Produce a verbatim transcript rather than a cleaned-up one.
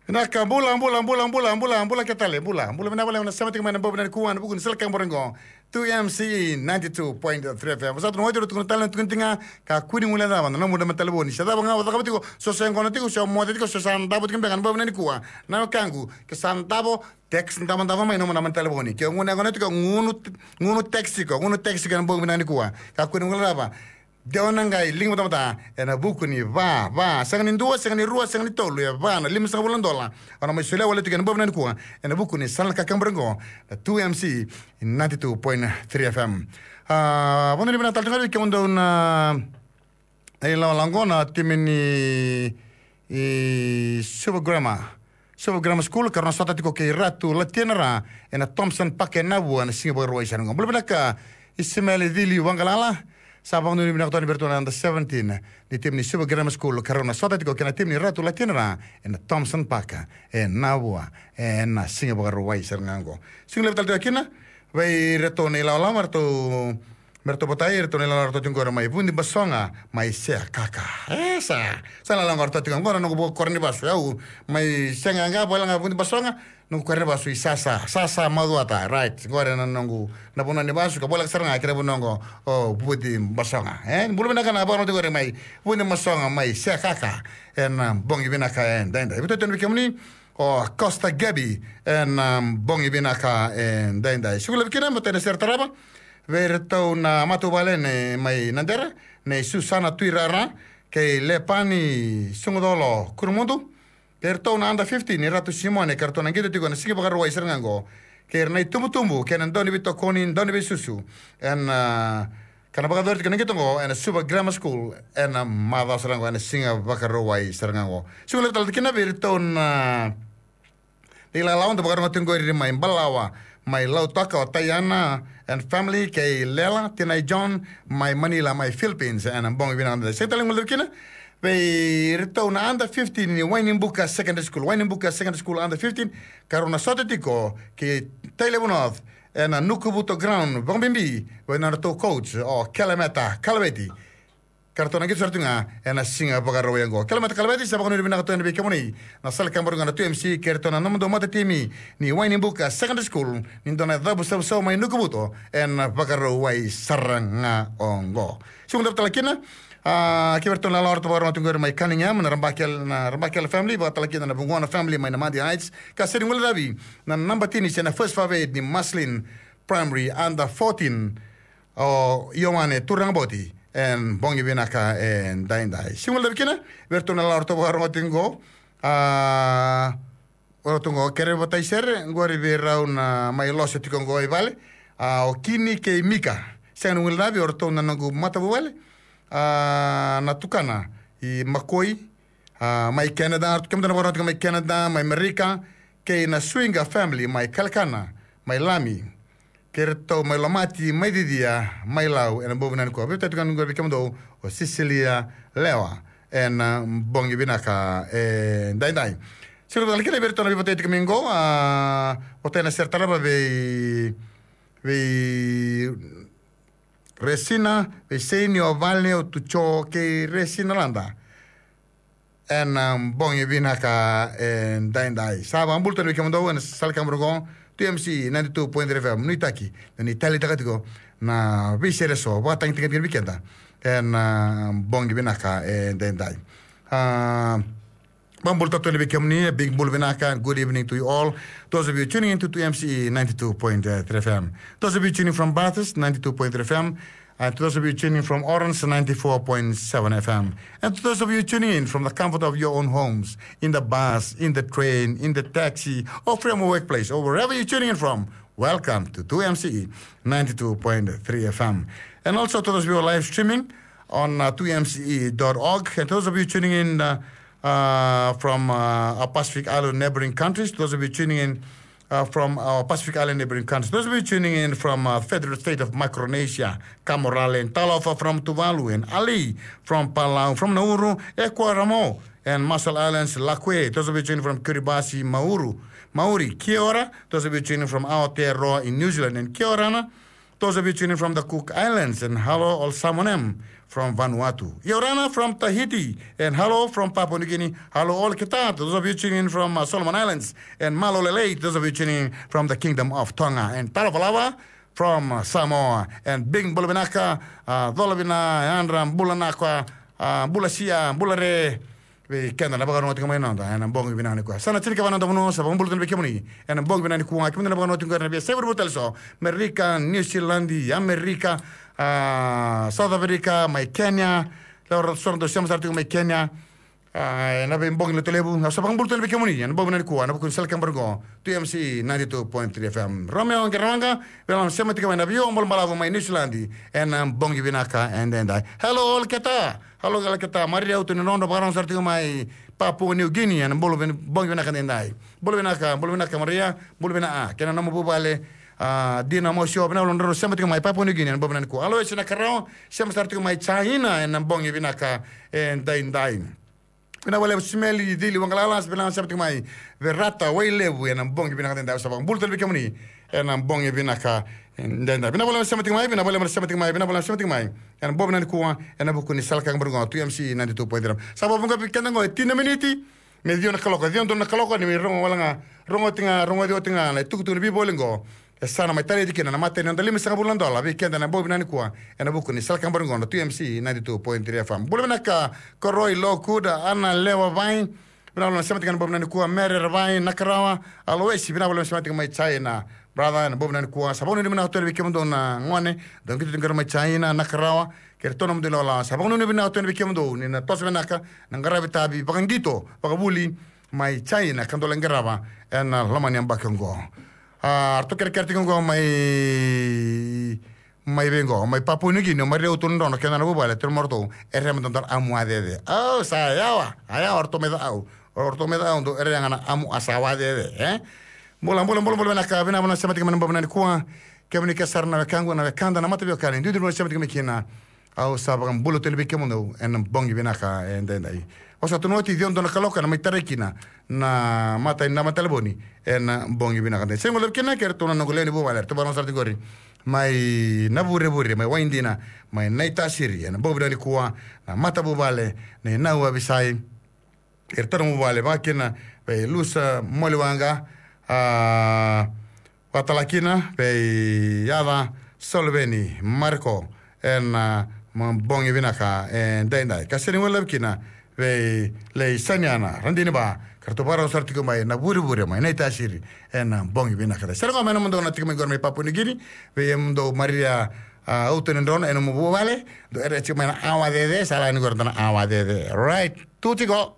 Vinaka, bula, bula, bula, bula, bula, bula, ke tale, bula, bula, vinaka, vinaka, na sema tiko mai na bobo na nikua, na vuku ni sala ka bora qo. Two M C E ninety-two point three F M. Sa tu na oti, tukuna tale, tukuna tiga, ka kua ni guilecava na nomu naba ni talevoni. Se cava ga o cakava tiko, so se gona tiko, so moce tiko, so sa davo tiko beka na bobo na nikua. Na wekaqu, ke sa davo, text davo, davo mai nomu naba ni talevoni. Ke gunu, gunu tiko, gunu, gunu text tiko, gunu text tiko na bobo na nikua. Ka kua ni guilecava. Dewa na qai liga vata, vata ena vuku ni va, va, sega ni dua, sega ni rua, sega ni tolu, e va na lima saka vula na dola. Au na mai solia wale tiko ena bobo na nikua ena vuku ni sala ka kemura qo, na two M C ninety-two point three F M. A, vanua ni vinaka tale tiko ga vei kemudou na ilawalawa qo, na timi ni i Suva Grammar, Suva Grammar School, ka rau na sota tiko kei Ratu Latina Ra ena Thompson Park e Navua ena siga Vakarauwai sara qo. Bula vinaka Isimeli Cili Waqalala, sa vakanuinui vinaka toka vei iratou na under seventeen ni timi ni Suva Grammar School, ka rau na sota tiko kei na timi ni Ratu Latina Ra ena Thompson Park e Navua ena siga Vakarauwai sara ga qo. Siga levu tale tiko kina vei iratou na ilawalawa, ratou Me ratou votai, ratou na ilawalawa, ratou tiko qori mai Vudi Basoga, mai Sekaka. E sa, sa na lako ratou tiko qori na noqu koro ni vasu. Au mai Sega ga, vale ga Vudi Basoga, noqu koro ni vasu i Sasa, Sasa Macuata, right. Qori na noqu, na vanua ni vasu, ka voleka sara ga kei na vanua qo o Vudi Basoga. E, bula vinaka na vakarau tiko qori mai Vudi Basoga, mai Sekaka. Ena bogi vinaka edaidai. Vei iratou na vei kemuni, o Costa Gabi, ena bogi vinaka edaidai. Siga levu kina, matai na sere tarava vei iratou na matavuvale nei mai Nadera, nei Susana Tuirara kei Lepani Sugucolo Kurumudu, kei iratou na under fifteen ni Ratu Simone, kei iratou na qito tiko ena siga Vakarauwai sara ga qo, kei ira na itubutubu kei na dauniveitokoni, dauniveisusu, ena, a, ka na vakayacori tiko na qito qo ena Suva Grammar School ena macawa sara qo, ena siga Vakarauwai sara ga qo. Siga levu tale kina vei iratou na, a, na ilawalawa da vakarorogo tiko qori mai Balawa, mai Lautoka, o Taiana and family, kei Lela, tinai John, mai Manila, mai Philippines, ena bogi vinaka edaidai. Sega tale ni guilecavi kina vei iratou na under fifteen ni Wainibuka Secondary School, Wainibuka Secondary School under fifteen, ka rau na sota tiko kei Tailevu North ena Nukuvuto Ground, vakabibi vei na nodratou coach o Kelemeta Kalaveti. Ka ratou na qito sara tu ga ena siga Vakarauwai qo. Kelemeta Kalaveti, sa vakanuinui vinaka tu yani vei kemuni na sala ka bora qo na two M C, kei iratou na nomudou matatimi ni Wainibuka Secondary School, ni dua na cavusavusavu mai Nukuvuto ena Vakarauwai sara ga qo. Siga levu tale kina, a, kei iratou na ilawalawa ratou vakarorogo tiko qori mai Cunningham, na Rabakele, na Rabakele family, vaka tale kina na Vugona family mai Namadi Heights, ka sega ni guilecavi na naba tini se na first five eight ni Maslin Primary under fourteen, o Ioane Turaga Boti, ena bogi vinaka edaidai. Siga levu kina vei iratou na ilawalawa ratou vakarorogo tiko qo, a, o ratou qo kere vata i sere qori vei rau na mai lose tiko qo i vale, a, o Kini kei Mika. Sega ni guilecavi, o ratou na noqu matavuvale, a, na tukana i Makoi, a, mai Canada, kemudou na vakarorogo tiko mai Canada, mai Amerika, kei na Suiga family mai Kalekana, mai Lami, kei iratou mai Lomati, mai Cicia, mai Lau, ena bogi vinaka nikua. Vei iratou tiko qori vei kemudou o Sisilia Lewa, ena bogi vinaka edaidai. Siga levu tale kina vei iratou na veivotai tiko mai qo, a, votai na sere tarava vei, vei Resina, vei Seini, o Vale, o Tuco kei Resina Lada. Ena, a, bogi vinaka edaidai. Sa vakabula tu yani vei kemudou ena sala ka bora qo, two M C ninety-two point three F M, nuitaki, na ni taleitaka tiko na veisere eso vakatagitaki vei keda ena, a, bogi vinaka edaidai. A, vakabula tu yani vei kemuni, a big bula vinaka, good evening to you all. Those of you tuning in to two M C E ninety-two point three F M. Those of you tuning from Bathurst, ninety-two point three F M. And to those of you tuning from Orange, ninety-four point seven F M. And to those of you tuning in from the comfort of your own homes, in the bus, in the train, in the taxi, or from your workplace, or wherever you're tuning in from, welcome to two M C E ninety-two point three F M. And also to those of you live streaming on, uh, two M C E dot org. And to those of you tuning in, uh, uh, from, uh, our Pacific Island neighboring countries, to those of you tuning in, uh, from our Pacific Island neighboring countries, those of you tuning in from, uh, Federated State of Micronesia, Kamourale, and Talofa from Tuvalu, and Ali from Palau, from Nauru, Ekuramo, and Marshall Islands, Lakue, those of you tuning from Kiribati, Mauru, Maori, kia ora, those of you tuning from Aotearoa in New Zealand, and kia orana, those of you tuning from the Cook Islands, and hello, all Samonem, from Vanuatu. Yorana from Tahiti. And hello from Papua New Guinea. Hello all Keta, those of you tuning in from uh, Solomon Islands. And Malo Lelei, those of you tuning in from the Kingdom of Tonga. And Talovalava from uh, Samoa. And Big Bulavinaka, uh, Dolovina, Andra, Bulanaka, uh, Bulasia, Bulare. Vei keda na vakarorogo tiko mai noda ena bogi vinaka nikua. Sa na tini ka va noda vanua, sa vakabula tonu vei kemuni ena bogi vinaka nikua. Kemuni na vakarorogo tiko ena via several tale so, Amerika, New Zealand, Amerika, ah, South Africa, mai Kenya. Lewa so na dau sema sara tiko mai Kenya. Ah, ena vei bogi letu levu, sa vakabula tonu vei kemuni ena bogi vinaka nikua ena vuku ni sala kebara qo, two M C ninety-two point three F M. Romeo Qeramaqa, vei na sema tiko mai na vio balavu mai New Zealand ena bogi vinaka edaidai. Hello all Keta. Hello all Keta, Maria Utu ni Nono, vakarorogo sara tiko mai Papua New Guinea ena bula vin- bogi vinaka edaidai. Bula vinaka, bula vinaka Maria, bula vinaka. Kei na nomu vuvale, ah, Dina Mosio, vinaka vakalevu na sema tiko mai Papua New Guinea ena bogi vinaka nikua. Aloesi Nakarawa, sema sara tiko mai China ena bogi vinaka edaidai. Vinaka vakalevu Simeli Cili Waqalala, vinaka sema tiko mai Verata Wailevu ena bogi vinaka edaidai. Sa vakabula tale vei kemuni ena bogi vinaka edaidai. Vinaka vakalevu sema tiko mai, vinaka vakalevu sema tiko mai, vinaka vakalevu sema tiko mai ena bogi vinaka nikua ena vuku ni sala kebara qo, two M C ninety-two point three. Sa vakavuqa vei keda qo e tini na miniti me ciwa na kaloko, ciwa donu na kaloko, ni mai rogo wale ga, rogoci ga, rogoci oti ga na itukutuku ni veivoli qo. E sa na mai talei tiko kina na matai ni noda limasagavulu na dola vei keda ena bogi vinaka nikua ena vuku ni sala kebara qo na two M C ninety-two point three F M. Bula vinaka Koroi Lokuda, Ana Lewa Vai, vinaka vakalevu na sema tiko ena bogi vinaka nikua, Mere Ravai, Nakarawa, Aloesi, vinaka vakalevu na sema tiko mai China. Brother, ena bogi vinaka nikua, sa vakanuinui vinaka tonu vei kemudou na gone dau qito tiko qori mai China, Nakarawa, kei iratou na nomudou ilawalawa. Sa vakanuinui vinaka tonu vei kemudou ni na toso vinaka na qaravi tavi vakaqito, vakavuli mai China ka dou lai qarava ena loma ni yabaki oqo. A, ratou kerekere tiko qo mai, mai vei qo, mai Papua New Guinea, mai Rio Tundrono, kei na nona vuvale, tiko mai ratou, e rema dodonu na amu a cece. Au, sa yawa, a yawa, ratou mai ca au. Ratou mai ca au, dou, e rega na amu a sa wa cece, e? Bula, bula, bula, bula, vinaka, vinaka, vinaka, sema tiko mai na bogi vinaka nikua. Kemuni ke sara na wekaqu, na wekada, na mataveiwekani, duidui na sema tiko mai kina. Au sa vakabula tale vei kemudou ena bogi vinaka edaidai. Au sa tukuna oti, ciwa donu na kaloko ena mai tarai kina na matai ni naba ni talevoni ena bogi vinaka edaidai. Sega ni guilecavi kina kei iratou na noqu lewe ni vuvale, eratou vakarorogo sara tiko qori mai Navurevure, mai Waidina, mai Naitasiri, ena bogi vinaka nikua, na matavuvale nei Nau Avisai. Iratou na vuvale, vaka kina vei Lusa Moliwaqa, a, vaka tale kina vei Yaca Soloveni Mariko, ena, a, ma bogi vinaka edaidai. Ka sega ni guilecavi kina vei Lei Saniana Radiniva, ka ratou vakarorogo sara tiko mai Navurevure, mai Naitasiri, ena bogi vinaka edaidai. Sere qo mai nomudou na tiko mai qori mai Papua New Guinea, vei kemudou Maria, a, Utu ni Nono, ena nomu vuvale, dou rere tiko mai na awa cece, sa lako yani qori na awa cece. Right, tu tiko.